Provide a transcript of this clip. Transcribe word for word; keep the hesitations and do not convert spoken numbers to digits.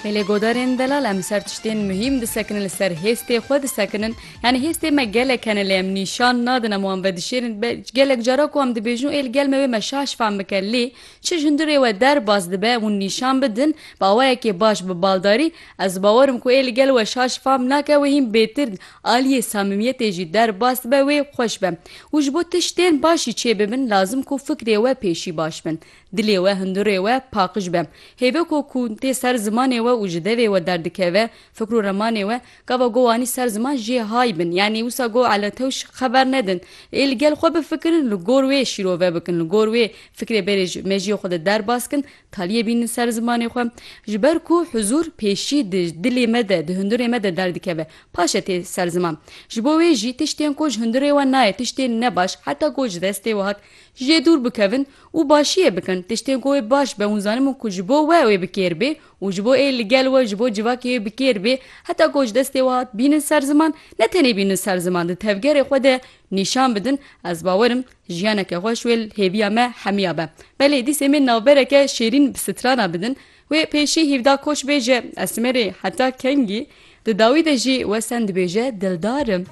Belê godarên delal, em ser tiştên muhîm disekinin, li ser hêstê xwe disekinin. Yani hêstê me gelek hene lê em nîşan nadin, em wan vedişêrin. Be-, gelek cara ku em dibêjin ê li gel me wê me şaş fam bike lê çi ji hundirê we derbas dibe, hûn nîşan bidin, bi awayekê baş, bi baldarî, ez bawerim ku ê li gel we şaş fam nake, wê hîn bêtir aliyê samimiyetê jî derbas dibe, wê xweş be. Û ji bo tiştên baş jî çê bibin, lazim ku fikrê we pêşî baş bin. Dilê we, hundirê we paqij be. Hêvê ku, ku tê ser zimanê we û ji devê we derdikeve, fikr û remanê we, gava go wanî ser ziman jê hay bin. Yanî wisa go ele tewş xeber nedin. Ê li gel xwe bifikirin, li gor wê şîrove bikin, li gor wê fikrê berê ji mejiyê xwe de derbas kin, taliyê bînin ser zimanê xwe. Ji ber ku huzur pêşî di dilê me de, di hundirê me de derdikeve. Paşe tê ser ziman. Ji bo wê jî tiştên ku ji hundirê we nayê, tiştên nebaş, heta ku ji destê we hat, jê dûr bikevin û başiyê bikin. Tiştên ku wê baş be, hûn zanimin ku ji bo we wê bi kêr bê û ji bo ê li gel we, ji bo civakê wê bi kêr bê, heta ku ji destê we hat, bînin ser ziman, ne tenê bînin ser ziman, di tevgerê xwe de nîşan bidin. Ez bawerim jiyaneke xweş wê li hêviya me hemiya be. Belê, dîsê min navbereke şêrîn bi strana bidin. Wê pêşî hîvda koç bêje, Esmerê heta kengî, di dawî de jî wesen dibêje, dildar im.